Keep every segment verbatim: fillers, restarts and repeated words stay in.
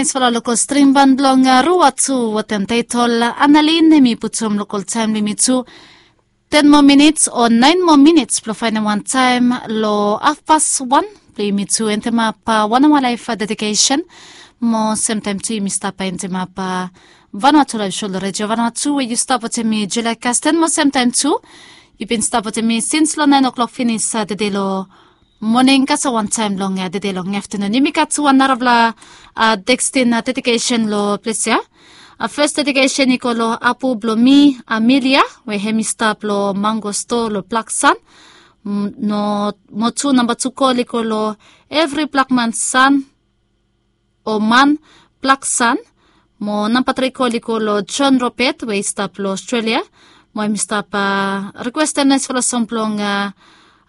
Naisfala lokol string ban blong ruwa tu wetem taitol analin, em i putum lokol taem blong yumi tu ten moa minits o naen moa minits blong faenem wan taem long afpas wan blong yumi tu endemap wan aoa laef dedikesen. Mo semtaem tu yumi stap endemap vanua tu laef sho long redio vanua tu we yu stap wetem mi, Julia Kasten. Mo semtaem tu yu bin stap wetem mi sins long naen oklok finis tede long moning kasem wantaem long tede long aftanun. Yumi gat wan narafala tekstin dedikesen long ples ya. Fes dedikesen i go long apu blong mi, Amelia, we hem i stap long mango stoa long Blaksan. Mo tu namba tu kol i go long evri blakman san o man Blaksan. Mo namba tri kol i go long John Robert we i stap long Australia. Mo hem i stap rikwestem naesfala song blong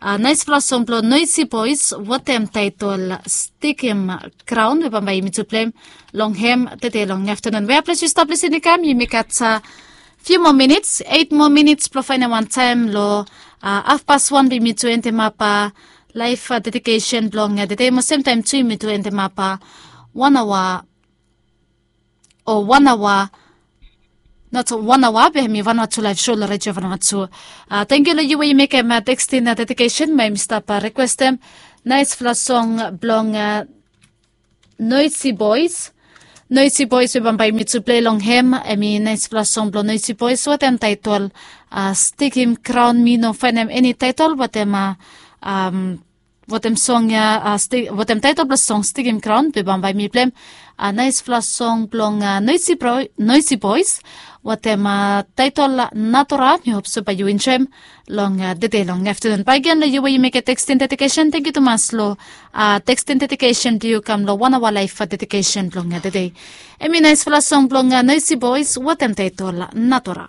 naesfala song blong Noisy Boys wetem taetol Stikim Graon we bambae yumi tu pleim long hem tede long aftanun. Wea ples yu stap lisin i kam, yumi gat fiu moa minits, eit moa minits blong faenem wantaem long afpas wan blong yumi tu endemap laef dedikesen blong tede. Mo semtaem tu yumi tu endemap wan aoa o wan aoa, not wan aoa be hem i vanua tu laef sho long redio vanua tu. Tangkiu long yu we yu mekem tekstin dedikesen mo hem i stap rikwestem naesfala song blong Noisy Boys. Noisy Boys we bambae yumi tu plei long hem hem i naesfala song blong Noisy Boys wetem taetol Stikim Graon. Mi no faenem eni taetol wetem wetem song ya, wetem taetol blong song Stikim Graon be bambae mi pleim naesfala song blong Noisy Boys wetem taetol Natura. Mi hop se bae yu enjoem long tede long aftanun. Bae gen long yu we yu mekem tekstin dedikesen, tangkiu tumas long tekstin dedikesen blong yu kam long wan aoa laef dedikesen blong tede. Hem i naesfala song blong Noisy Boys wetem taetol Natura.